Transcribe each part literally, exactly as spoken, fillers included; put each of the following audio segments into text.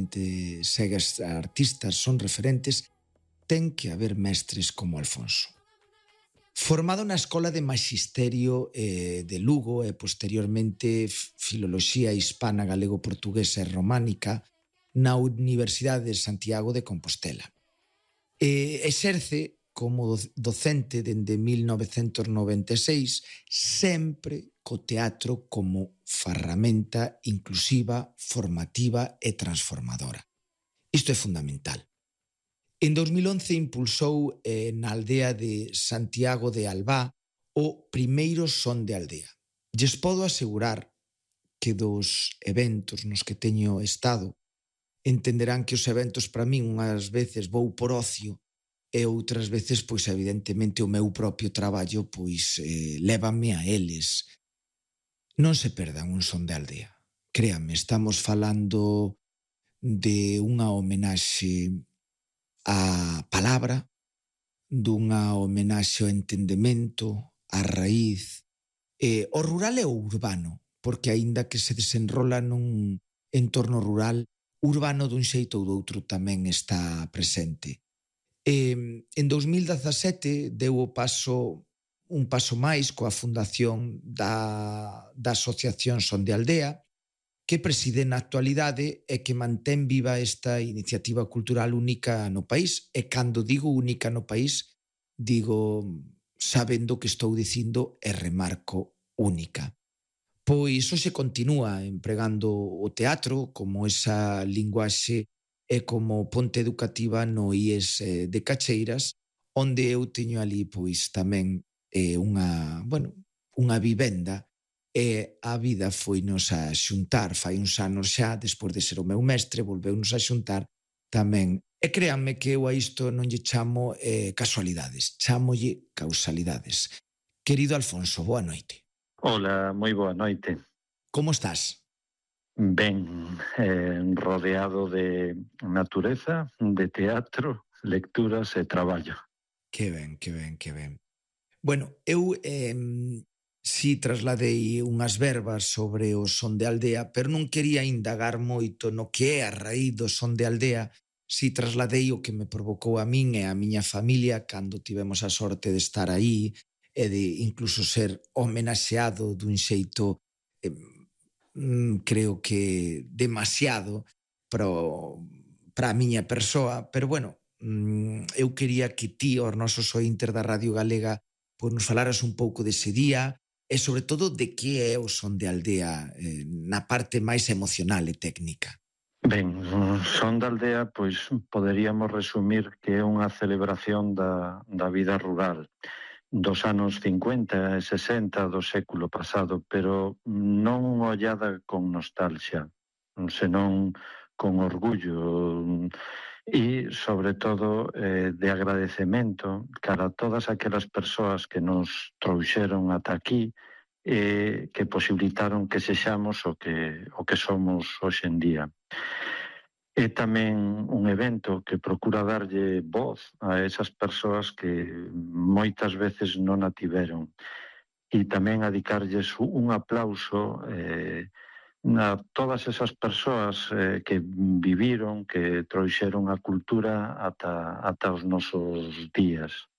xente segue as artistas, son referentes, ten que haber mestres como Alfonso. Formado na Escola de Maxisterio eh, de Lugo e posteriormente Filoloxía Hispana Galego-Portuguesa e Románica na Universidade de Santiago de Compostela. Eh, exerce como docente dende mil novecentos noventa e seis, sempre co teatro como ferramenta inclusiva, formativa e transformadora. Isto é fundamental. En dos mil once impulsou eh, na aldea de Santiago de Albá o primeiro son de aldea. Lles podo asegurar que dos eventos nos que teño estado entenderán que os eventos para min unhas veces vou por ocio e outras veces, pois evidentemente o meu propio traballo pois eh, lévame a eles. Non se perdan un son de aldea. Créanme, estamos falando de unha homenaxe a palabra, dunha homenaxe ao entendemento, á raíz, eh, o rural e o urbano, porque aínda que se desenrola nun entorno rural, urbano dun xeito ou doutro tamén está presente. Eh, en dos mil dezasete deu o paso, un paso máis coa fundación da, da Asociación Son de Aldea, que preside na actualidade e que mantén viva esta iniciativa cultural única no país. E cando digo única no país, digo sabendo que estou dicindo e remarco única. Pois hoxe continúa empregando o teatro como esa linguaxe e como ponte educativa no I E S de Cacheiras, onde eu teño ali pois tamén eh, unha, bueno, unha vivenda. E a vida foinos a xuntar, fai uns anos xa, despois de ser o meu mestre, volveunos a xuntar tamén. E créanme que eu a isto non lle chamo eh, casualidades, chamolle causalidades. Querido Alfonso, boa noite. Hola, moi boa noite. Como estás? Ben, eh, rodeado de natureza, de teatro, lecturas e traballo. Que ben, que ben, que ben. Bueno, eu... Eh, si trasladei unhas verbas sobre o son de aldea, pero non quería indagar moito no que é a raíz do son de aldea, si trasladei o que me provocou a min e a miña familia cando tivemos a sorte de estar aí e de incluso ser homenaxeado dun xeito, eh, creo que demasiado para a miña persoa, pero bueno, eu quería que ti, os nosos ointes da Radio Galega, pois nos falaras un pouco dese día, e sobre todo de que é o son de aldea eh, na parte máis emocional e técnica. Ben, o son de aldea, pois poderíamos resumir que é unha celebración da, da vida rural dos anos cincuenta e sesenta do século pasado, pero non ollada con nostalgia, senón con orgullo e, sobre todo, eh, de agradecemento cara a todas aquelas persoas que nos trouxeron ata aquí e que posibilitaron que sexamos o que, o que somos hoxe en día. É tamén un evento que procura darlle voz a esas persoas que moitas veces non a tiveron e tamén a dedicarlles un aplauso eh, a todas esas persoas eh, que viviron, que trouxeron a cultura ata, ata os nosos días.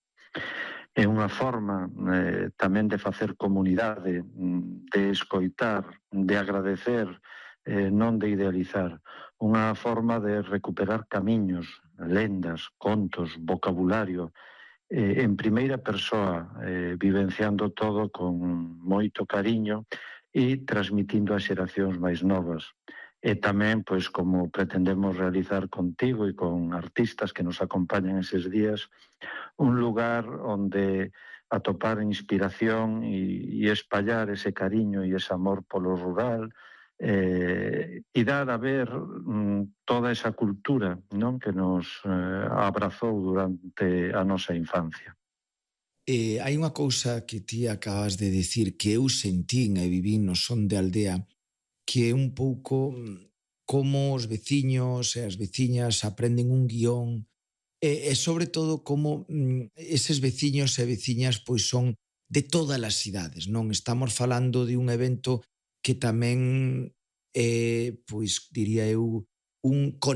É unha forma eh, tamén de facer comunidade, de escoitar, de agradecer, eh, non de idealizar. Unha forma de recuperar camiños, lendas, contos, vocabulario, eh, en primeira persoa, eh, vivenciando todo con moito cariño e transmitindo a xeracións máis novas. E tamén, pois, como pretendemos realizar contigo e con artistas que nos acompañan eses días, un lugar onde atopar inspiración e, e espallar ese cariño e ese amor polo rural eh, e dar a ver mm, toda esa cultura, non, que nos eh, abrazou durante a nosa infancia. Eh, hai unha cousa que ti acabas de dicir que eu sentín e vivín no son de aldea, que é un pouco como os veciños e as veciñas aprenden un guión e, e sobre todo como mm, eses veciños e veciñas pois son de todas as cidades, non? Estamos falando de un evento que tamén é, pois diría eu, un